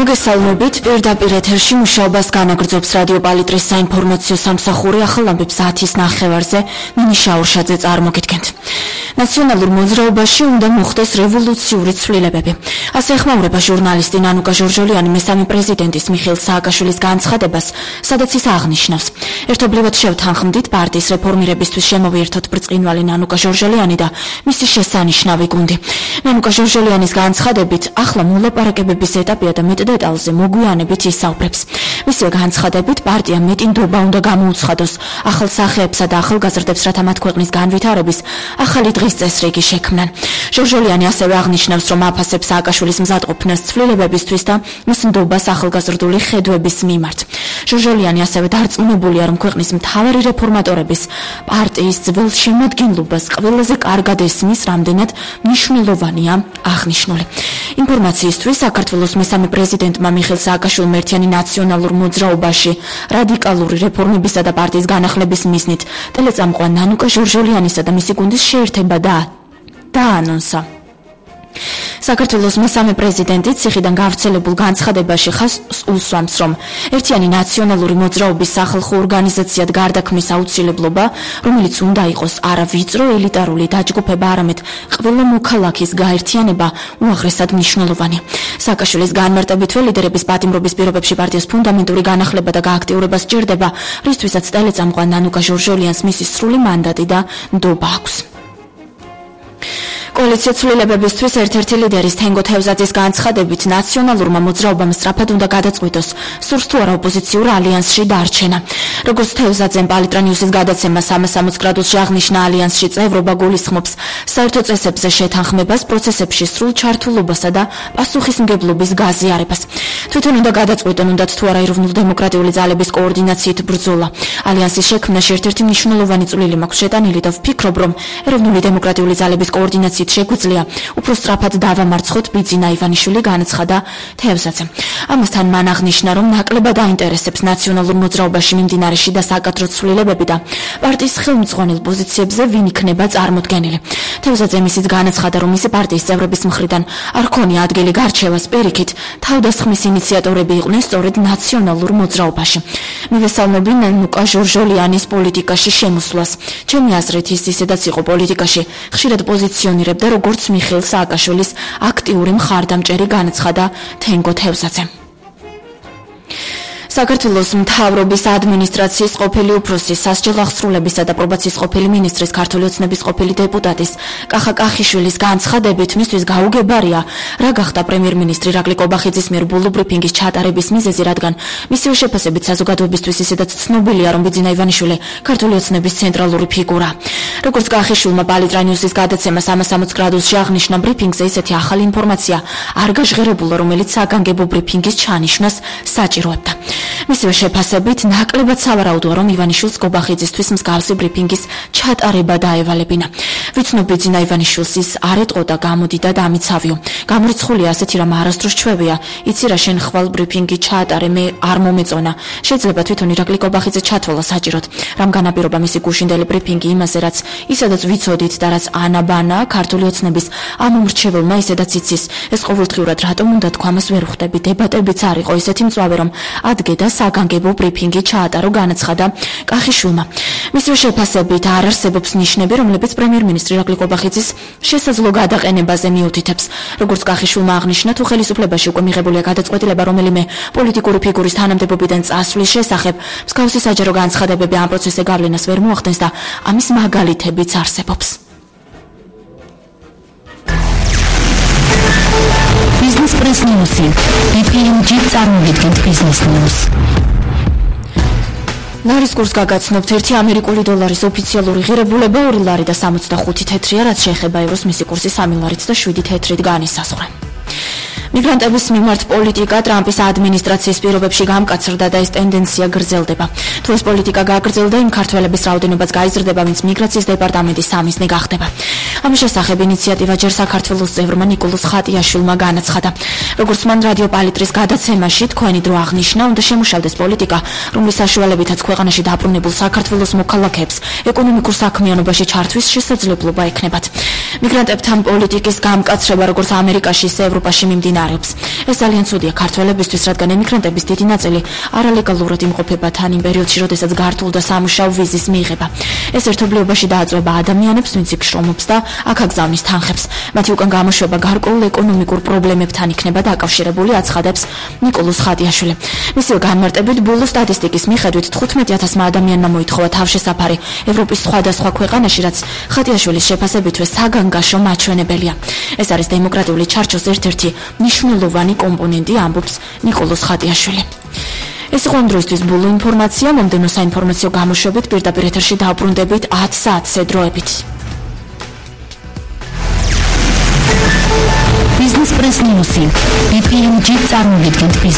მოგესალმებით, პირდაპირ ეთერში მუშაობას განაგრძობს რადიო პალიტრის საინფორმაციო სამსახური ახალ ამბებს 10:09-ზე ნინი შაურშაძე წარმოგიდგენთ. ნაციონალურ მოძრაობაში უნდა მოხდეს რევოლუციური ცვლილებები. ასე ეხმაურება ჟურნალისტი ნანუკა ჟორჟოლიანი მესამე პრეზიდენტის მიხეილ სააკაშვილის განცხადებას, სადაც ის აღნიშნავს: ერთობლივად შევთანხმდით პარტიის რეფორმირებისთვის შემოვიერთოთ ბრწყინვალე ნანუკა ჟორჟოლიანი და მისი შესანიშნავი გუნდი. ნანუკა ჟორჟოლიანის განცხადებით, ახლა მოლაპარაკებების ეტაპია და მეტ დეტალზე მოგვიანებით ისაუბრებს. მისივე განცხადებით, პარტია მეტი ნდობა უნდა გამოუცხადოს ახალ სახეებსა და ახალგაზრდებს, რათა მათ ქვეყნის განვითარების ახალი დღის წესრიგი შექმნან. ჟორჟოლიანი ასევე აღნიშნავს, რომ აფასებს სააკაშვილის მზადყოფნას ცვლილებებისთვის და მის ნდობას ახალგაზრდული ხედვების მიმართ. ჟორჟოლიანი ასევე დარწმუნებულია, რომ ქვეყნის მთავარი რეფორმატორების პარტიის ძველ შემადგენლობას ყველაზე კარგად ესმის, რამდენად მნიშვნელოვანია აღნიშნული. ინფორმაციისთვის საქართველოს მესამე პრეზიდენტმა მიხეილ სააკაშვილმა ერთიანი ნაციონალურ მოძრაობაში რადიკალური რეფორმებისა და პარტიის განახლების მიზნით ტელეწამყვან ნანუკა ჟორჟოლიანისა და მისი გუნდის შეერთება დაანონსა. საქართველოს მესამე პრეზიდენტი ციხიდან გავრცელებულ განცხადებაში ხაზს უსვამს, რომ ერთიანი ნაციონალური მოძრაობის სახალხო ორგანიზაციად გარდაქმნის აუცილებლობა, რომელიც უნდა იყოს არა ვიწრო ელიტარული დაჯგუფება, არამედ ყველა მოქალაქის გაერთიანება უაღრესად მნიშვნელოვანი. სააკაშვილის განმარტებითვე ლიდერების პატიმრობის პირობებში პარტიას ფუნდამენტური განახლება და გააქტიურება სჭირდება, რისთვისაც ტელეწამყვან ნანუკა ჟორჟოლიანს მისი სრული მანდატი და ნდობა აქვს. კოალიცია ცვლილებებისთვის ერთ-ერთი ლიდერის თენგო თევზაძის განცხადებით, ნაციონალურმა მოძრაობამ სწრაფად უნდა გადაწყვიტოს, სურს თუ არა ოპოზიციურ ალიანსში დარჩენა. როგორც თევზაძემ პალიტრა ნიუსის გადაცემა 360 გრადუსში აღნიშნა, ალიანსში წევრობა გულისხმობს საერთო წესებზე შეთანხმებას, პროცესებში სრულ ჩართულობასა და პასუხისმგებლობის გაზიარებას. თვითონ უნდა გადაწყვიტონ, უნდათ თუ არა ეროვნულ-დემოკრატიული ძალების კოორდინაციით ბრძოლა. ალიანსის შექმნაში ერთ-ერთი მნიშვნელოვანი წვლილი მაქვს შეტანილი და ვფიქრობ, რომ ეროვნული დემოკრატიული ძალების კოორდინაცია შეგვიძლია უფრო სწრაფად დავამარცხოთ, ბიძინა ივანიშვილი განაცხადა თევზაძემ. ამასთან მან აღნიშნა, რომ ნაკლებად აინტერესებს ნაციონალურ მოძრაობაში მიმდინარე შიდა საკადრო ცვლილებები და პარტიის ხელმძღვანელ პოზიციებზე ვინ იქნება წარმოდგენილი. თევზაძემ ისიც განაცხადა, რომ მისი პარტიის წევრების მხრიდან არ ქონია ადგილი გარჩევას, პირიქით, თავდასხმის ინიციატორები იყვნენ სწორედ ნაციონალურ მოძრაობაში. მივესალმები ნანუკა ჟორჟოლიანის პოლიტიკაში შემოსვლას. ჩემი აზრით, ის ისედაც იყო პოლიტიკაში ხშირად პოზიციონირებდა როგორც მიხეილ სააკაშვილის აქტიური მხარდამჭერი, განაცხადა თენგო თევზაძემ. საქართველოს მთავრობის ადმინისტრაციის ყოფილი უფროსის, სასჯელ აღსრულებისა და პრობაციის ყოფილი მინისტრის, ქართული ოცნების ყოფილი დეპუტატის კახა კახიშვილის განცხადებით, მისთვის გაუგებარია, რა გახდა პრემიერ-მინისტრი ირაკლი კობახიძის მიერ ბოლო ბრიფინგის ჩატარების მიზეზი, რადგან მისივე შეფასებით საზოგადოებისთვის ისედაც ცნობილია, რომ ბიძინა ივანიშვილი ქართული ოცნების ცენტრალური ფიგურა. როგორც კახიშვილმა პალიტრა ნიუსის გადაცემა 360 გრადუსში აღნიშნა, ბრიფინგზე ისეთი ახალი ინფორმაცია არ გაჟღერებულა, რომელიც საგანგებო ბრიფინგის ჩანიშვნას საჭიროებდა. მისივე შეფასებით, ნაკლებად სავარაუდოა, რომ ივანიშვილს კობახიძისთვის მსგავსი ბრიფინგის ჩატარება დაევალებინა. ვიცნობ ბიძინა ივანიშვილს ის არ ეტყოდა, გამოდიდა და ამიცავიო. გამორიცხულია ასეთი რამ არასდროს ჩვევია. იცი რა, შენ ხვალ ბრიფინგი ჩაატარე, მე არ მომეწონა. შეიძლება თვითონ ირაკლი კობახიძე ჩათვალა საჭიროდ. რამ განაპირობა მისი გუშინდელი ბრიფინგი იმაზე, რაც ისედაც ვიცოდით და რაც ანაბანა ქართული ოცნების ამომრჩეველმა ისედაც იცის. ეს ყოველდღიურად რატომ უნდა თქვა, მას ვერ ხვდები, დებატებიც არ იყო ისეთი მწვავე, რომ ადგე და საგანგებო ბრიფინგი ჩაატარო, განაცხადა კახიშვილმა. მისივე შეფასებით, არ არსებობს ნიშნები, რომლებიც პრემიერ-მინისტრი ირაკლი კობახიძის შესაძლო გადაყენებაზე მიუთითებს. როგორც კახიშვილმა აღნიშნა, თუ ხელისუფლებაში უკვე მიღებულია გადაწყვეტილება რომელიმე პოლიტიკური ფიგურის თანამდებობიდან წასვლის შესახებ, მსგავსი საჯარო განცხადებები ამ პროცესზე გავლენას ვერ მოახდენს და ამის მაგალითებიც არსებობს. Business Press News. BPMG წარმოგიდგენთ Business News. ლარის კურსს გაგაცნობთ, ერთი ამერიკული დოლარის ოფიციალური ღირებულება 2 ლარი და 65 თეთრია, რაც შეეხება ევროს, მისი კურსი 3 ლარით და 7 თეთრით განისაზღვრა. მიგრანტების მიმართ პოლიტიკა ტრამპის ადმინისტრაციის პირობებში გამკაცრდა და ეს ტენდენცია გრძელდება. თუ ეს პოლიტიკა გაგრძელდა, იმ ქართველების რაოდენობაც გაიზრდება, ვინც მიგრაციის დეპარტამენტის სამიზნე გახდება. ამის შესახებ ინიციატივა ჯერ საქართველოს წევრმა ნიკოლოზ ხატიაშვილმა განაცხადა. როგორც მან რადიო პალიტრის გადაცემაში თქვენი დრო აღნიშნა, უნდა შემუშავდეს პოლიტიკა, რომლის საშუალებითაც ქვეყანაში დაბრუნებულ საქართველოს მოქალაქეებს ეკონომიკურ საქმიანობაში ჩართვის შესაძლებლობა ექნებათ. მიგრანტებთან პოლიტიკის გამკაცრება, როგორც ამერიკაში, ისე ევროპაში მიმდინარე არეობს. ეს ძალიან ცუდია ქართველებისთვის, რადგან ემიგრანტების დიდი ნაწილი არალეგალურად იმყოფება თან იმ პერიოდში, როდესაც გართულდა სამუშაო ვიზის მიღება. ეს ერთობლიობაში დააწვება ადამიანებს, ვინც იქ შრომობს და აქ აგზავნის თანხებს. მათი უკან გამოშვება გარკვეულ ეკონომიკურ პრობლემებთან იქნება დაკავშირებული, აცხადებს ნიკოლოზ ხატიაშვილი. მისივე განმარტებით, ბოლო სტატისტიკის მიხედვით 15,000 ადამიანმა მოითხოვა თავშესაფარი ევროპის სხვადასხვა ქვეყანაში, რაც ხატიაშვილის შეფასებითვე საგანგაშო მაჩვენებელია. ეს არის დემოკრატიული ჩარჩოს ერთ-ერთი მნიშვნელოვანი კომპონენტი, ამბობს ნიკოლოზ ხატიაშვილი. ეს იყო ამ დროისთვის ბოლო ინფორმაცია. მომდევნო საინფორმაციო გამოშვებით პირდაპირ ეთერში დავბრუნდებით 10 საათზე დროებით. Business Press News. BPMG წარმოგვიდგენთ